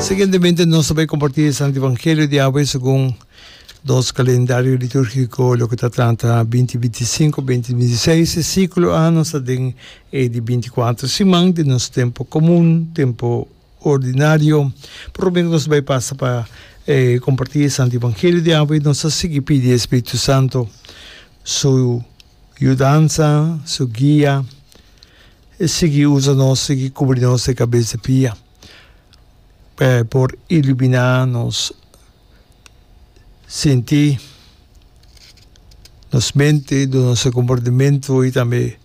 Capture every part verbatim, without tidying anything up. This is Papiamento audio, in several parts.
Siguientemente nos ta bay comparti e Santo Evangelio di awe segun nos calendario litúrgico loke ta trata binti binti sinku, binti binti seis. E ciclo a nos ta den e di binti kuater siman di nos tempo comun, tempo ordinario. Prome cu nos bay pasa pa e comparti e Santo Evangelio di awe, nos ta sigui pidi e Spiritu Santo su yudansa, su guia. E sigui usa nos, sigui cubri nos de cabes di pia, pa e por ilumina nos sinti, nos mente, duna nos e comportamento y tambe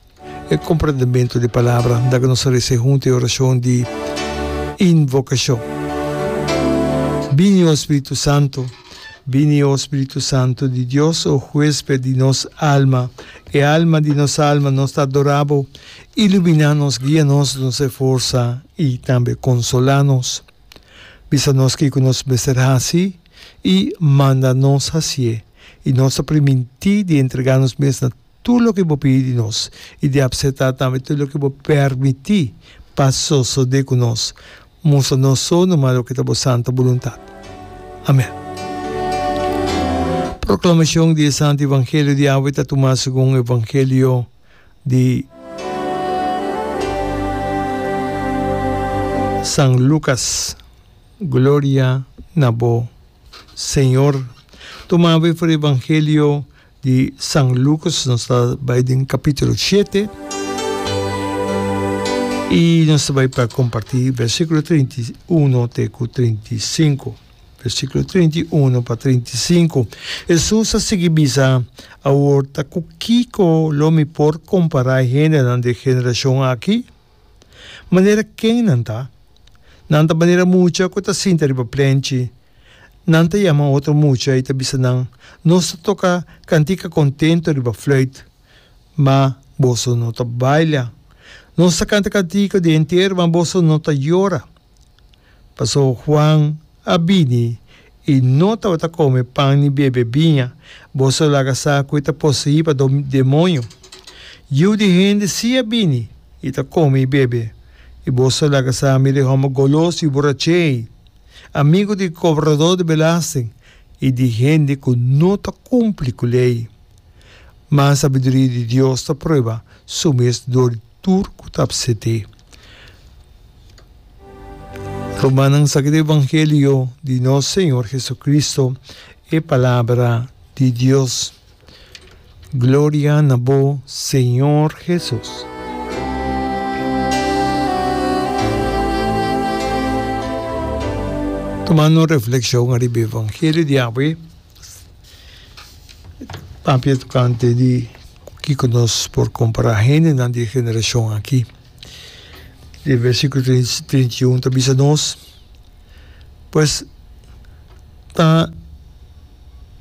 e comprendemento di palabra. Da cu nos a reza hunto e oracion di invocacion. Bini, o Spiritu Santo, bini, o Spiritu Santo di Dios, o huesped di nos alma, e alma di nos alma, nos ta adora bo. Ilumina nos, guia nos, nos e forsa y tambe consola nos. Bisa nos kico nos mester haci y manda nos hacié. Y nos ta priminti di entrega nos mes na tur loke bo pidi di nos y di acepta tambe tur loke bo permiti pa sosode cu nos. Mustra nos so numa loke ta bo santa boluntad. Amen. Proclamacion di e Santo Evangelio di awe ta tuma segun Evangelio di San Lucas. Gloria na bo, Señor. Tuma awe for Evangelio di San Lucas, nos ta bai den capítulo shete y nos ta bai pa comparti versículo trinta i uno te cu trinta i sinku. Versículo trinta i uno pa trinta i sinku. Hesus a sigui bisa, Awor ta cu kico lo mi por compara e hendenan di e generacion aki? Manera ken nan ta? Nan ta manera mucha cu ta sinta riba plenchi. Nan ta yama otro mucha i ta bisa nan, Nos ta toka kantika kontentu riba fluit, ma boso no ta baila. Nos ta kanta kantika di entero, ma boso no ta yora. Pasobra Juan a bini i no tabata kome pan ni bebe biña, boso a laga sa ku e ta poseí pa demoño. Yiu di hende sí a bini i ta kome i bebe, i boso a laga sa, Mira e hòmber golos i borach'é ei! Amigu di kobradó di belasting i di hende ku no ta kumpli ku lei. Ma sabiduria di Dios ta prueba su mes dor di tur ku ta apset'é. Rumannan, saki di evangelio di nos Señor Jesucristo, e palabra di Dios. Gloria na bo, Señor Jesus. Tumando un reflexion ariba evangelio di awe, papia tocante di kico nos por compara hendenan di e generacion aki. E versiculo trinta i un ta bisa nos, pues ta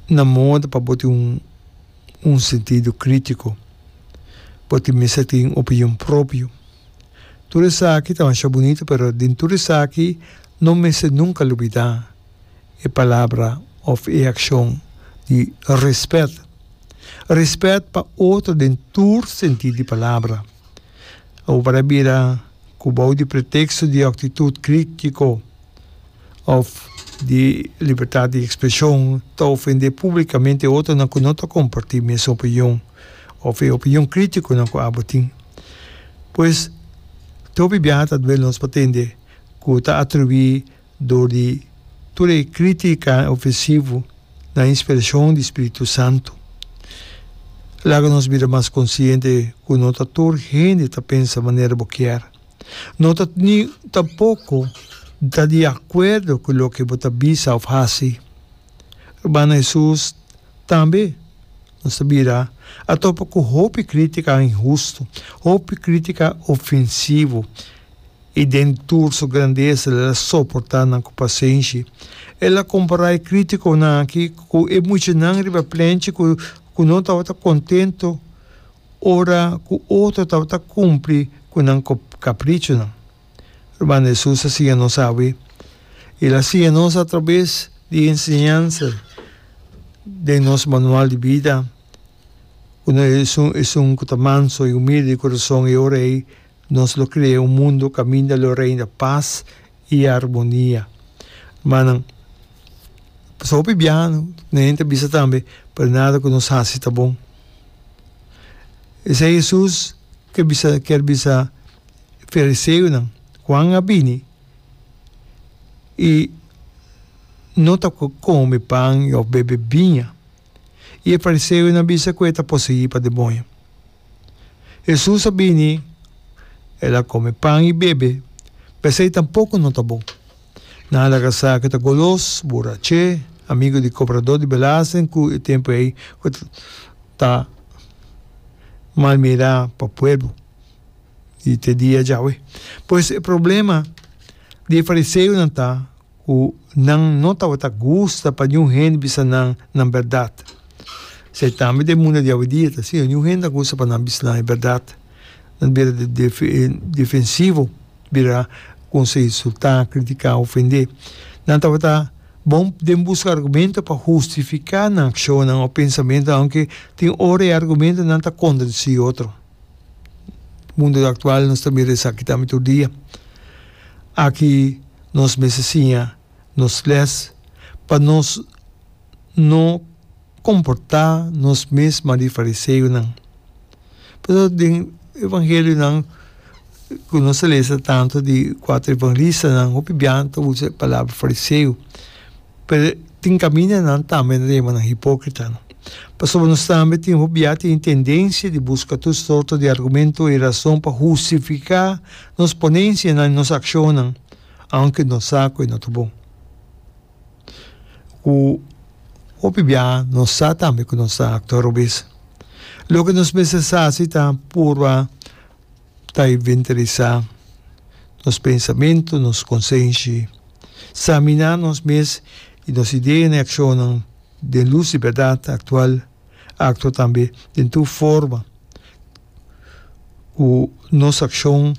na moda pa bo tin un un sentido critico, bo tin mester tin opinion propio. Tur esaki ta masha bunito pero den tur esaki no mester nunca lubida e palabra of e accion di respet. Respet pa otro den tur sentido di palabra. Awor para bira cu bou di pretexto di actitud critico of di libertad di expresion ta ofende publicamente otronan cu no ta comparti mes opinion of e opinion criticonan cu abo tin. Pues, te hopi biaha ta duel nos pa tende cu ta atribui dor di tur e critica ofensivo na inspiracion di Spiritu Santo. Laga nos bira mas conciente cu no ta tur hende ta pensa manera bo kier. No ta ni tampoco ta di acuerdo cu loke bo ta bisa of haci. Rumannan Hesus tambe nos ta bira a topa cu hopi critica inhusto, hopi critica ofensivo y den tur su grandesa el a soporta nan cu pasenshi. El a compara e criticonan aki cu e muchanan riba plenchi cu cu no tabata contento ora ku otro tabata kumpli ku nan kaprichonan. Ruman Hesus a siña nos awe. El a siña nos atrabes di e enseñansa den nos manual di bida ku no esun esun ku ta manso i humilde di kurason e ora ei nos lo krea un mundu kaminda lo reina pas i armonia. Manan, pasobra hopi biaha nan ta bisa tambe, pero nada ku nos hasi ta bon. Esei Hesus ke bisa kier bisa fariseonan. Juan a bini i no ta kome pan òf bebe biña. I e fariseonan a bisa ku e ta poseí pa demoño. Hesus a bini, el a kome pan i bebe, p'esei tampoko no ta bon. Nan a laga sa ku e ta golos, buraché, amigu di kobradó di belasting ku e tempu ei ku ta mal mirá pa pueblo i te dia djawe. Pues e problema di e fariseonan ta ku nan no tabata gusta pa niun hende bisa nan nan bèrdat. Esei tambe den mundu di awendia ta asina, niun hende ta gusta pa nan bisa nan e bèrdat. Nan bira defensivo, bira kumsa insultá, kritiká, ofendé. Nan tabata bon den buska argumento pa hustifiká nan akshonnan òf pensamentunan, aunke tin ora e argumentonan ta kontradisí otro. Mundu aktual nos ta mira esaki tambe tur dia. Aki nos mester siña nos les pa nos no komportá nos mes manera di fariseonan. Pasobra den evangelionan ku nos ta lesa tantu di kuater evangelistanan hopi biaha ta usa e palabra fariseo. Pero tin kamindanan tambe nan ta yama nan hipókritanan. Pasobra nos tambe tin hopi biaha tin e tendensia di buska tur sorto di argumento i rason pa hustifiká nos ponensianan i nos akshonnan, aunke nos sa ku e no ta bon. Ku hopi biaha nos sa tambe ku nos ta aktua robes. Loke nos mester sa si ta purba ta inventarisá nos pensamentu, nos konsenshi, saminá nos mes i nos ideanan i akshonnan den lus di bèrdat aktual, aktua tambe den tur forma ku nos akshon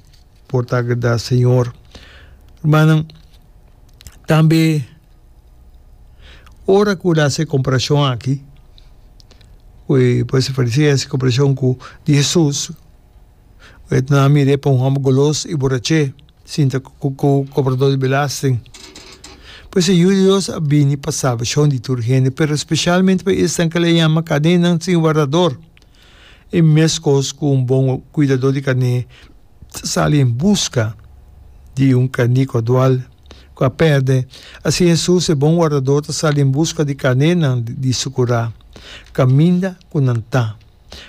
por ta agradá Señor. Rumannan, tambe ora ku el hasi e komparashon aki, ku e pues e fariseo hasi e komparashon ku di Hesus, E nan a mir'é pa un hòmber golos i borach'é, sinta ku kobradó di belasting. Pues e Yu di Dios a bini pa salbashon di tur hende, pero speshalmente pa esnan ku el a yama karnénan sin wardador. I meskos ku un bon kuidadó di karné ta sali en buska di un karné ku a dual, ku a pèrdè, asina Hesus, e bon wardador, ta sali en buska di karnénan di su kurá, kaminda ku nan ta.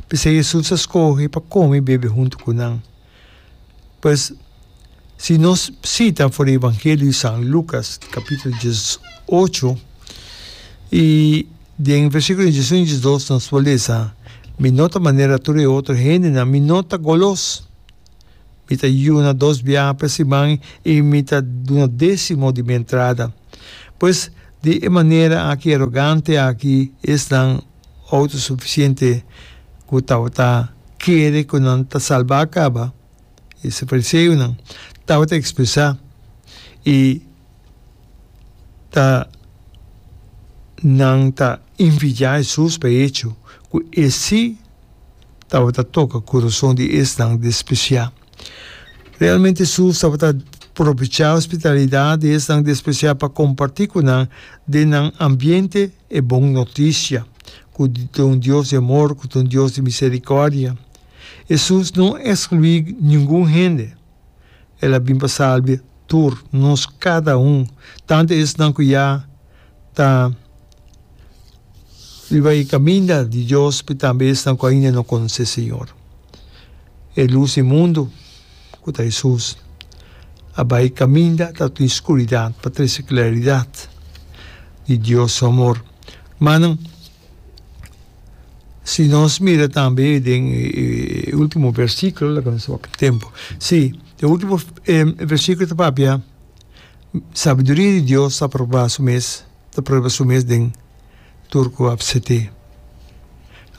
P'esei Hesus a skohe pa kome i bebe huntu ku nan. Pues, si nos sita for di Evangelio di San Lukas, kapítulo dies ocho, i den versíkulo diesun i diesdos nos por lesa, Mi no ta manera tur e otro hendenan, mi no ta golos. Mi ta yuna dos biaha pa siman i mi ta duna désimo di mi entrada. Pues, di e manera aki arogante aki esnan Outosufisiente ku tabata kere ku nan ta salbá kaba, e fariseonan tabata ekspresá i ta nan ta envidiá Hesus pa e echo ku e sí tabata toka kurason di esnan despresiá. Realmente Hesus tabata probechá hospitalidat di esnan despresiá pa kompartí ku nan den nan ambiente e bon notisia ku ta un Dios di amor, ku ta un Dios di miserikòrdia. Hesus no ekskluí ningun hende. El a bin pa salba tur nos kada un, tantu esnan ku ya ta riba e kaminda di Dios, pero tambe esnan ku ainda no konosé Señor. E lus di mundu, ku ta Hesus, a bai kaminda ta tin skuridat pa trese klaridat di Dios su amor. Rumannan, si nos mira tambe den e ultimo versíkulo, laga nos wak tempu, si, e ultimo versíkulo ta papia, Sabiduria di Dios ta proba su mes, ta prueba su mes den tur ku a pset'é.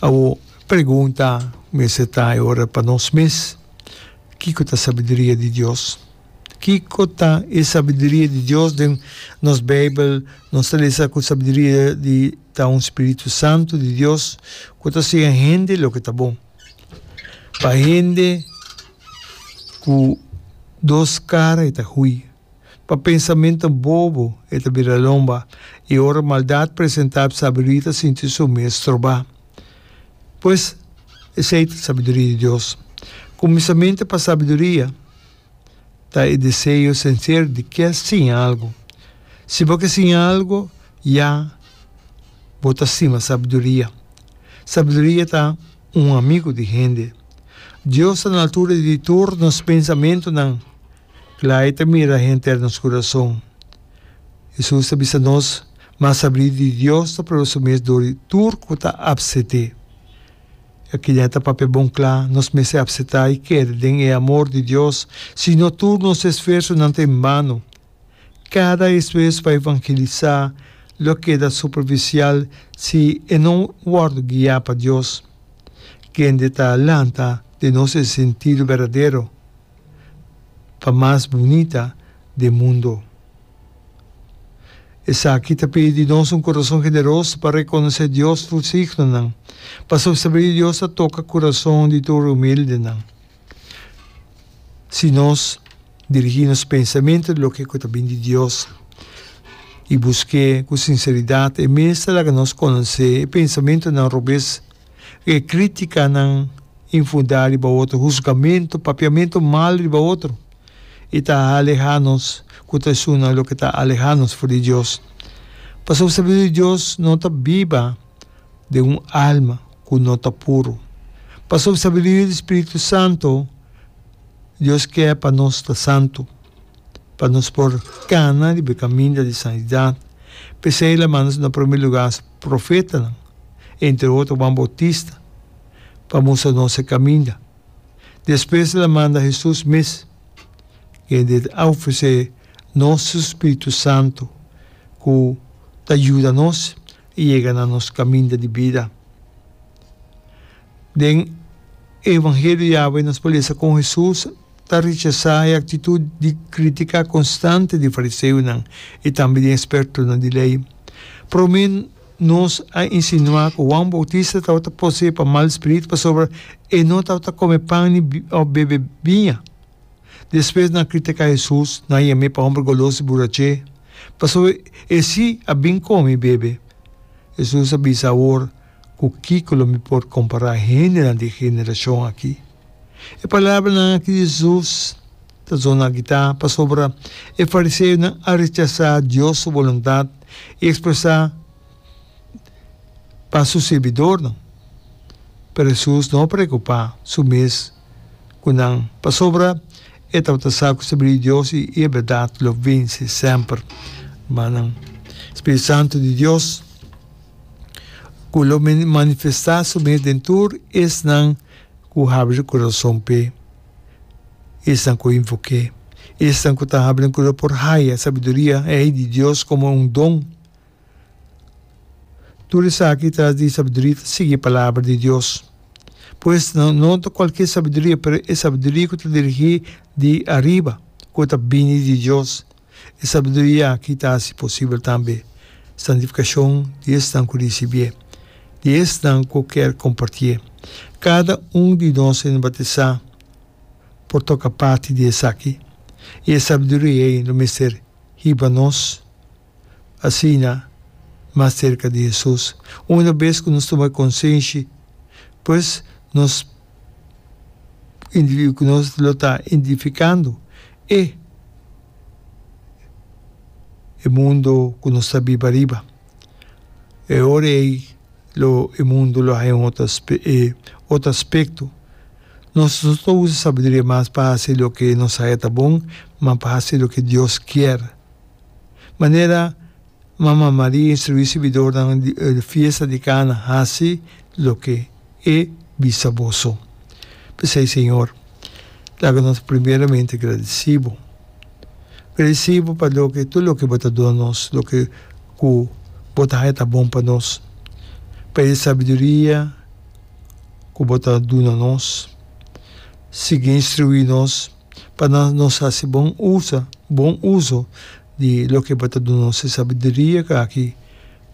Awor, pregunta mester ta e ora pa nos mes, Kiko ta sabiduria di Dios? Kiko ta e sabiduria di Dios? Den nos Beibel nos ta lesa ku sabiduria di ta un spiritu santu di Dios ku ta siña hende loke ta bon. Pa hende ku dos kara e ta hui, Pa pensamentu bobo e ta bira lomba, i ora maldat presentá, sabiduria ta sinti su mes strobá. Pues, esei ta sabiduria di Dios. Kuminsamentu pa sabiduria ta e deseo sinsero di ke siña algu. Si bo ke siña algu, ya bo ta stima sabiduria. Sabiduria ta un amigu di hende. Dios ta na altura di tur nos pensamentunan. Kla e ta mira henter nos kurason. Hesus ta bisa nos, Ma sabrí di Dios ta prueba su mes dor di tur ku ta apset'é. Akinan e ta papia bon kla, nos mester apsetá i kere den e amor di Dios, si no tur nos esfuersonan ta en bano. Kada esfuerso pa evangelisá lo keda superfisial si e no wòrdu guiá pa Dios, kende ta lanta den nos e sentido berdadero pa mas bunita den mundo. Esaki ta pidi di nos un kurason generoso pa rekonosé Dios su signonan, pasobra sabiduria di Dios ta toka kurason di tur humildenan. Si nos dirigí nos pensamentu di loke ku ta bin di Dios i busk'é ku sinseridat, e mes ta laga nos konosé e pensamentunan robes, e krítikanan infundá riba otro, husgamentu, papiamentu mal riba otro. I ta alehá nos ku ta esunnan loke ta alehá nos for di Dios. Pasobra sabiduria di Dios no ta biba den un alma ku no ta puru. Pasobra sabiduria di Spiritu Santu, Dios ke pa nos ta santu, pa nos por kana riba e kaminda di santidat. P'esei el a manda na promé lugá su profetanan, entre otro Juan Bautista, pa mustra nos e kaminda. Despues el a manda Hesus mes, kende a ofresé nos su spiritu santu ku ta yuda nos yega na nos kaminda di bida. Den e Evangelio di awe nos por lesa kon Hesus ta rechasá e aktitut di kritiká konstante di fariseonan i tambe di ekspertonan di lei. Promé Nos a insinuá ku Juan Boutista tabata poseé pa mal spiritu pasobra e no tabata kome pan ni òf bebe biña. Despues nan a kritiká Hesus, nan a yam'é pa hòmber golos i buraché, pasobra e sí a bin kome i bebe. Hesus a bisa awor, Ku kiko lo mi por kompará hendenan di e generashon akí? E palabranan akí di Hesus ta zona agitá pasobra e fariseonan a rechasá Dios su boluntat i ekspresá pa su sirbidornan. Pero Hesus no a preokupá su mes ku nan pasobra e tabata sa ku sabiduria di Dios i e bèrdat lo vense semper. Rumannan, Spiritu Santu di Dios ku lo manifestá su mes den tur esnan ku habri kurason p'e. Esnan ku invok'é, esnan ku ta habla ku lo por haya sabiduria ei di Dios komo un don. Tur esaki tras di sabiduria ta sigui e Palabra di Dios. Pues, no ta kualke sabiduria, pero e sabiduria ku ta dirigí di ariba, ku ta bini di Dios. E sabiduria aki ta hasi posibel tambe santifikashon di esnan ku risibié, di esnan ku kier kompartié. Kada un di nos hende batisá por toka parti di esaki, i e sabiduria ei lo mester hiba nos asina mas serka di Hesus. Una bes ku nos tuma konsenshi, pues nos ku nos lo ta identifikando e e mundo ku nos ta biba ariba. E ora ei lo e mundo lo haña un otro e otro aspekto. Nos no ta usa sabiduria mas pa hasi loke nos haya ta bon, ma pa hasi loke Dios kier. Manera Mama Maria instruí sirbidornan di e fiesta di Kana, hasi loke e bisa boso. P'esei, Señor, laga nos primeramente gradisí Bo. Gradisí Bo pa loke, tur loke Bo ta duna nos, loke ku Bo ta haña ta bon pa nos, pa e sabiduria ku Bo ta duna nos. Sigui instruí nos pa nos hasi bon usa, bon uso di loke Bo ta duna nos, e sabiduria aki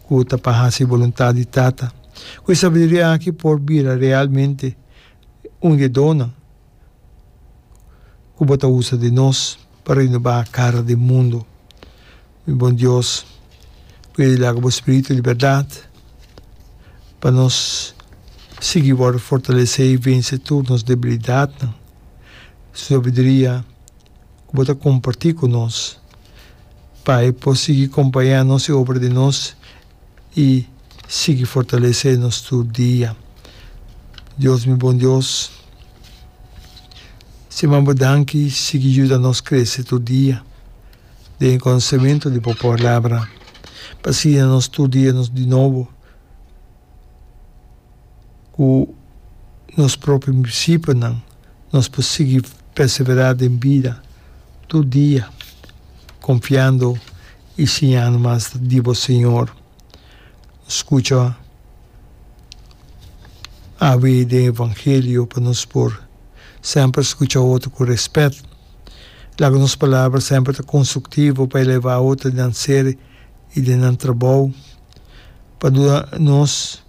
ku ta pa hasi boluntat di Tata. Ku e sabiduria aki por bira realmente un di e donnan ku Bo ta usa den nos. Pa renobá kara di mundu. Mi bon Dios, pidi laga bo Spiritu di bèrdat pa nos sigui wòrdu fortalesé i vense tur nos debilidatnan. Sabiduria ku bo ta kompartí ku nos, pa e por sigui kompañá nos i obra den nos i sigui fortalesé nos tur dia. Dios, mi bon Dios, siman bo danki, sigui yuda nos krese tur dia den e konosementu di bo Palabra, pa asina nos tur dia nos di nobo ku nos propio prinsipionan nos por sigui perseverá den bida tur dia, konfiando i siñando mas di bo Señor. Skucha awe den Evangelio pa nos por semper skucha otro ku rèspèt. Laga nos palabra semper ta konstruktivo pa elevá otro den nan ser i den nan trabou. Pa duna nos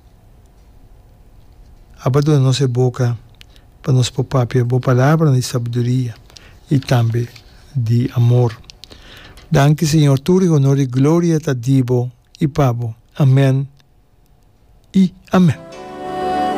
aba duna nos e boka pa nos por papia bo palabranan di sabiduria i tambe di amor. Danki Señor, tur e honor i gloria ta di bo i pa bo. Amen i amen.